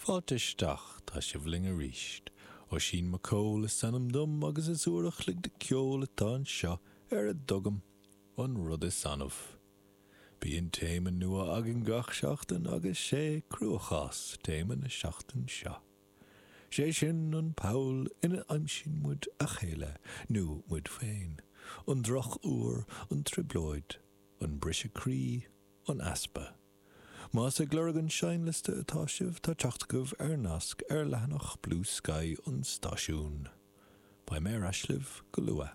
Fáilte isteach, tá sibh linn arís. Oisín Mac Cóil is ainm dom agus is uair a chloig de ceol atá anseo ar a dtugaim An Rud Is Annamh. Bíonn téama nua againn gach seachtain agus sé Cruachás téama na seachtain seo. Sé sin an poll ina aimsíonn muid a chéile, nó muid féin, an droch-uair, an trioblóid, an briseadh croí, an easpa. Más ag lorg an seinnliosta atá sibh, tá teacht agaibh ar nasc ar leathanach Bluesky an stáisiúin. Beidh mé ar ais libh go luath.